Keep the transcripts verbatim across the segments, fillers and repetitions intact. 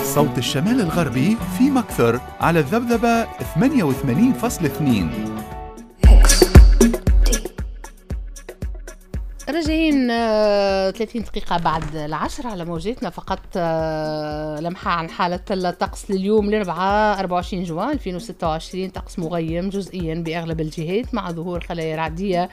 صوت الشمال الغربي في مكثر على الذبذبة ثمانية وثمانين فاصلة اثنين. راجعين ثلاثين دقيقة بعد العشرة على موجاتنا. فقط لمحة عن حالة الطقس لليوم الأربعاء أربعة وعشرين جوان ألفين وستة وعشرين. طقس مغيم جزئيا بأغلب الجهات مع ظهور خلايا رعدية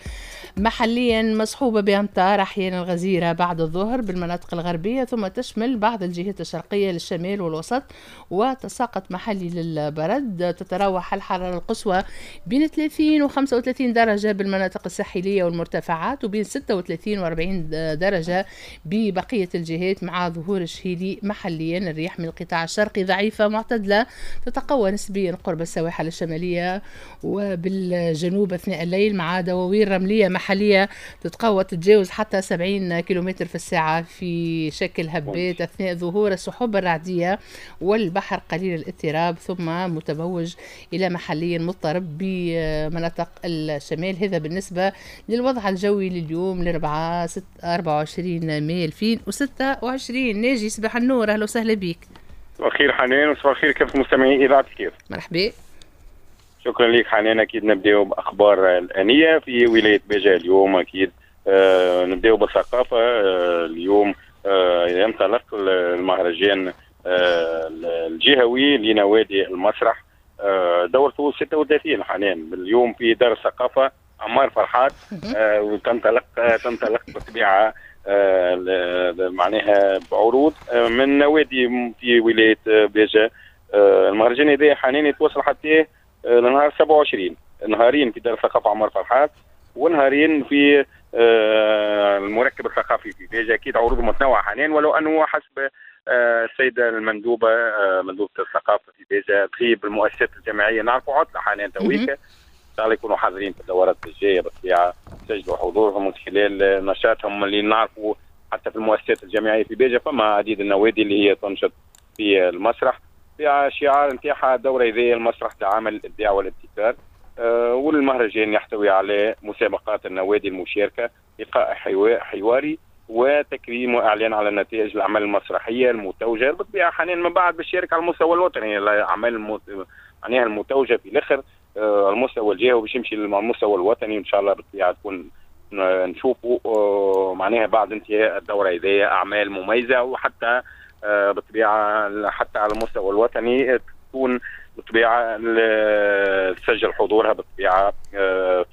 محليا مصحوبة بأمطار أحيانا غزيرة بعد الظهر بالمناطق الغربية، ثم تشمل بعض الجهات الشرقية للشمال والوسط، وتساقط محلي للبرد. تتراوح الحرارة القصوى بين ثلاثين و خمسة وثلاثين درجة بالمناطق الساحلية والمرتفعات، وبين ستة وثلاثين و أربعين درجة ببقية الجهات مع ظهور الشهيلي محليا. الرياح من القطاع الشرقي ضعيفة معتدلة، تتقوى نسبيا قرب السواحل الشمالية وبالجنوب أثناء الليل، مع دواوير رملية محلية تتقوى تتجاوز حتى سبعين كيلومتر في الساعة في شكل هبات أثناء ظهور السحب الرعدية، والبحر قليل الاضطراب ثم متموج إلى محليا مضطرب بمناطق الشمال. هذا بالنسبة للوضع الجوي لليوم الأربعاء أربعة وعشرين ماي ألفين وستة وعشرين. ناجي صباح النور، أهلا وسهلا بك. صباح الخير حنان، وصباح الخير كافة مستمعي إذاعة الكيف. مرحبا. شكرا لك حنان. اكيد نبداو باخبار الانية في ولاية باجة اليوم. اكيد آه نبداو بالثقافة. آه اليوم آه ينطلق المهرجان آه الجهوي لنوادي المسرح، آه دورته ستة وثلاثين حنان، اليوم في دار الثقافة عمار فرحات. آه وتنطلق آه تنطلق بالطبيعة آه معناها بعروض آه من نوادي في ولاية باجة. آه المهرجان هذا حنان يتواصل حتى لنهار سبعة وعشرين، نهارين في دار الثقافة عمر فرحات ونهارين في المركب الثقافي في باجة. أكيد عروض متنوعة حنان، ولو أنه حسب السيدة المندوبة مندوبة الثقافة في باجة تغيب المؤسسات الجامعية، نعرفوا عطلة حنان تويكا، إن شاء الله يكونوا حاضرين في الدورات الجاية بالطبيعة، سجلوا حضورهم من خلال نشاطهم اللي نعرفوا حتى في المؤسسات الجامعية في باجة فما عديد النوادي اللي هي تنشط في المسرح. في شعار نتاعها الدورة هذه المسرح تعامل الإبداع والابتكار. أه والمهرجان يحتوي على مسابقات النوادي المشاركة، لقاء حواري، وتكريم وإعلان على نتائج الأعمال المسرحية المتوجة. بالطبيعة حنان من بعد باش يشارك على المستوى الوطني، الأعمال المت... معناها المتوجة في الآخر أه المستوى الجهوي باش يمشي للمستوى الوطني إن شاء الله. بالطبيعة تكون نشوفوا أه معناها بعد انتهاء الدورة هذه أعمال مميزة، وحتى بالطبيعة حتى على المستوى الوطني تكون بالطبيعة تسجل حضورها بالطبيعة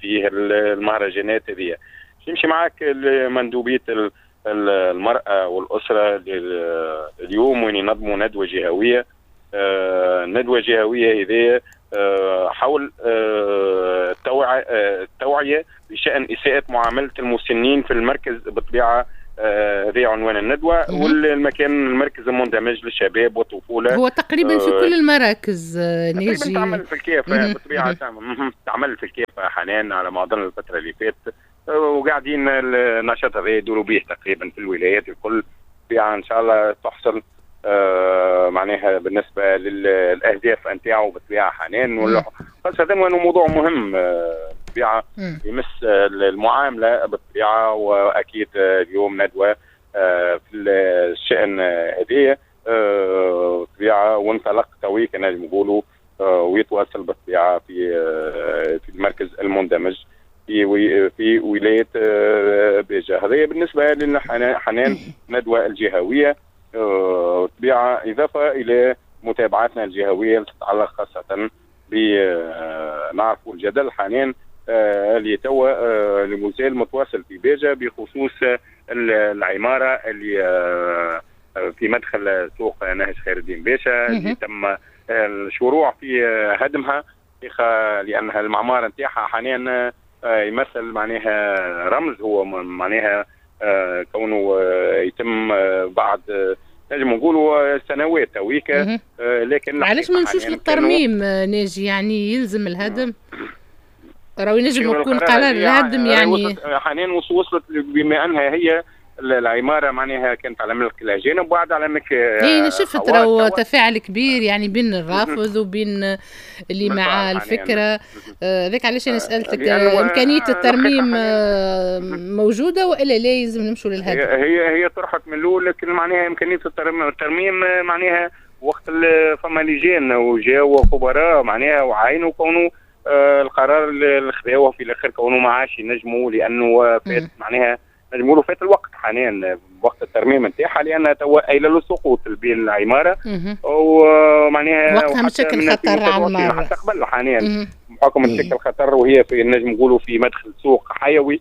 في المهرجانات هذه. نمشي معاك لمندوبيه المراة والاسرة اليوم وين ينظموا ندوه جهويه. ندوه جهويه هذه حول التوعية بشان اساءه معاملة المسنين في المركز. بالطبيعة هذا عنوان الندوة، والمكان المركز المندمج للشباب والطفولة. هو تقريبا في كل المراكز ناجي تعمل في الكيف بالطبيعة، تعمل في الكيف حنان على ما أظن الفترة اللي فاتت، وقاعدين النشاط هذا يدوروا به تقريبا في الولايات الكل. ان شاء الله تحصل معناها بالنسبة للأهداف نتاعو بالطبيعة حنان، خاصة وأنه موضوع مهم بالطبيعة يمس المعاملة بالطبيعة. وأكيد اليوم ندوة في الشأن هذه بالطبيعة، وانطلق توي كما نقولوا ويتواصل بالطبيعة في في المركز المندمج في في ولاية باجة. هذه بالنسبة لحنان ندوة الجهوية بالطبيعة، إضافة إلى متابعاتنا الجهوية اللي تتعلق خاصة ب نعرفوا الجدل حنان اللي توا اللي مازال متواصل في باجة بخصوص العمارة اللي في مدخل سوق نهج خير الدين باشا اللي تم الشروع في هدمها، لأنها المعمارة نتاعها حنان يمثل معناها رمز، هو معناها كونه يتم بعد نجم نقولوا سنوات تويكا. لكن علاش ما نمشوش للترميم ناجي؟ يعني يلزم الهدم، راهو ينجم يكون قرار الهدم يعني حنان وصلت بما انها هي العمارة معناها كانت على ملك الاجانب وبعد على ملك. اي شفت راهو تفاعل كبير يعني بين الرافض وبين اللي مع الفكرة. هذاك علاش انا سالتك امكانية الترميم موجودة والا لا يلزم نمشوا للهدم؟ هي هي طرحت من الاول، لكن معناها امكانية الترميم معناها وقت اللي فما لجان وجاو خبراء معناها وعاينوا كونوا آه القرار اللي خذاوه في الاخر كونه ما عادش ينجموا، لانه فات معناها نجموا فات الوقت حاليا وقت الترميم نتاعها، لان توا ايله للسقوط بين العمارة ومعناها وقتها مشكل خطر على المارة حتى قبل حاليا بحكم تشكل خطر، وهي في نجم نقولوا في مدخل سوق حيوي.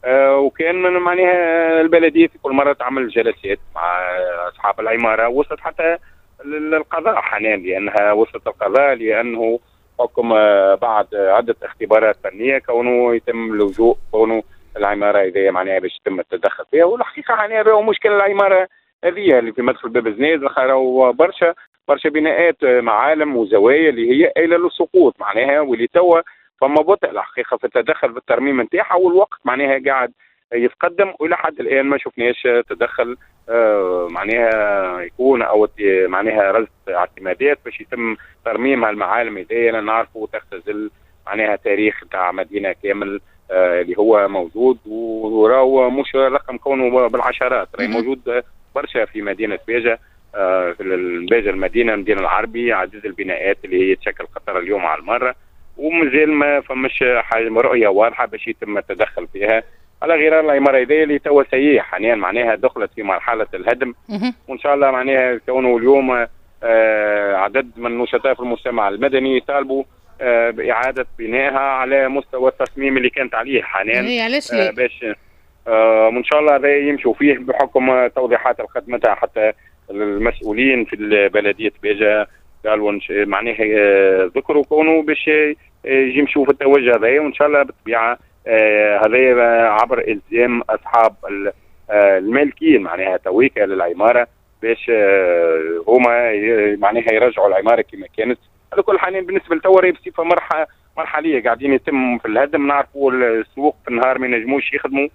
آه وكان من معناها البلدية في كل مرة تعمل جلسات مع اصحاب العمارة، وصلت حتى للقضاء حاليا، لانها وصلت القضاء لانه حكم بعد عده اختبارات فنية كونه يتم اللجوء كونه العمارة هذه معناها باش يتم التدخل فيها. والحقيقة حاليا راهو مشكلة العمارة هذه اللي في مدخل باب زنيز، راهو برشا برشا بناءات معالم وزوايا اللي هي ايله للسقوط معناها، واللي توا فما بطء الحقيقة في التدخل في الترميم نتاعها، والوقت معناها قاعد يتقدم والى حد الان ما شفناش تدخل آه معناها يكون او معناها رصد اعتمادات باش يتم ترميم هالمعالم هذيا. نعرفوا تختزل معناها تاريخ تاع مدينة كامل آه اللي هو موجود، وراهو مش رقم كونه بالعشرات، راهي موجود برشا في مدينة باجه، آه في باجه المدينة المدينة العربي، عديد البناءات اللي هي تشكل خطر اليوم على المرة، ومازال ما فماش حاجة رؤية واضحة باش يتم التدخل فيها، على غرار العمارة هذه اللي توا سيئه حاليا معناها دخلت في مرحلة الهدم. وان شاء الله معناها كونه اليوم آه عدد من النشطاء في المجتمع المدني يطالبوا آه باعادة بنائها على مستوى التصميم اللي كانت عليه حاليا. علاش آه باش آه وان شاء الله هذا يمشوا فيه بحكم توضيحات اللي خدمتها حتى المسؤولين في بلديه باجه قالوا معناها ذكروا كونه باش يمشوا في التوجه هذا، وان شاء الله بالطبيعة هذا عبر الزام اصحاب المالكين معناها تويكا للعماره باش هما معناها يرجعوا العمارة كما كانت. على كل حال بالنسبة لتوا بصفة مرحلة مرحليه قاعدين يتم في الهدم، نعرفوا السوق في النهار ما ينجموش يخدموا،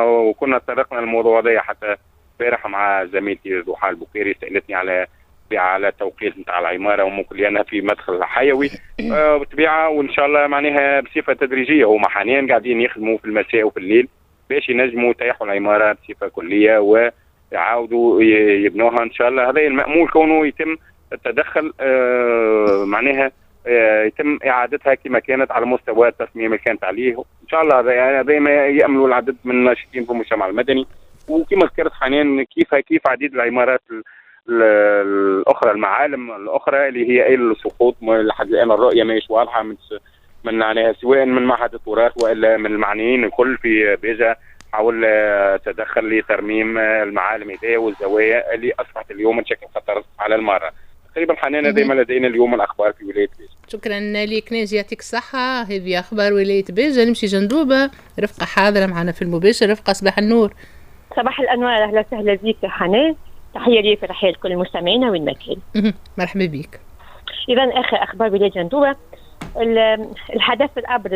وكنا تطرقنا للموضوع هذا حتى البارح مع زميلتي ضحى البكيري، سالتني على على التوقيت نتاع العمارة وممكن لانها في مدخل حيوي آه بالطبيعة. وان شاء الله معناها بصفة تدريجيه هما حاليا قاعدين يخدموا في المساء وفي الليل باش ينجموا يطيحوا العمارة بصفة كليه ويعاودوا يبنوها ان شاء الله. هذا المامول كونه يتم التدخل آه معناها آه يتم اعادتها كما كانت على مستوى التصميم اللي كانت عليه ان شاء الله. هذا هذا ما ياملوا العدد من الناشطين في المجتمع المدني، وكما ذكرت حاليا كيف كيف عديد العمارات الاخرى المعالم الاخرى اللي هي ايل للسقوط لحد الان الرؤية ماهيش واضحة من من معناها سواء من معهد التراث والا من المعنيين الكل في باجه حاول تدخل لترميم المعالم هذه والزوايا اللي اصبحت اليوم تشكل خطر على المارة. تقريبا حنان هذا ما لدينا اليوم الاخبار في ولاية باجه. شكرا لك ناجي، يعطيك الصحة. هذه اخبار ولاية باجه. نمشي جندوبه، رفقه حاضره معنا في المباشر. رفقه صباح النور. صباح الانوار، اهلا وسهلا بك حنان، تحية لي وتحية لكل المستمعين وين ما كان. مرحبا بك. اذا اخر اخبار ولاية جندوبه، الحدث الابرز